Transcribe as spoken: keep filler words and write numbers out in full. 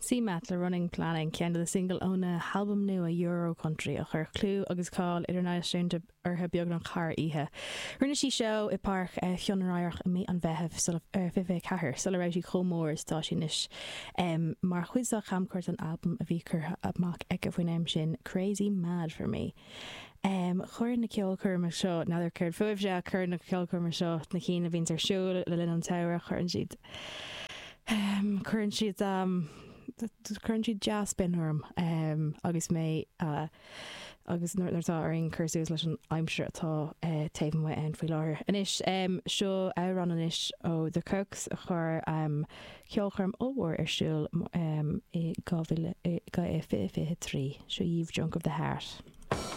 CMAT le Running Planning ceann de na singil óna halbam nua Euro Country a chuir clú agus cáil idirnáisiúnta uirthi beagnach thar oíche. Rinne sí seo i bPáirc Chionn Ráthach i mí an Mheithimh fiche ceathair sula raibh sí chomh mór is atá sí anois mar chuid dá chamchuairt an albam a bhí curtha amach aici faoin am sin Crazy Mad for Me. Um, chuir na ceolchoirmeacha seo n'fheadar céard fúibhse chuir na ceolchoirmeacha seo na cinn a bhíonn ar siúl le linn an tsamhraidh chuireann siad um, chuireann siad um, chuireann siad dea-spion orm um, agus mé uh, agus nuair atá orainn cur suas leis an aimsir atá uh, taobh amuigh ann faoi láthair. Anois um, seo amhrán anois ó The Kooks a chuir um, ceolchoirm ollmhór ar siúl um, i fiche fiche trí seo You've Junk of the Heart.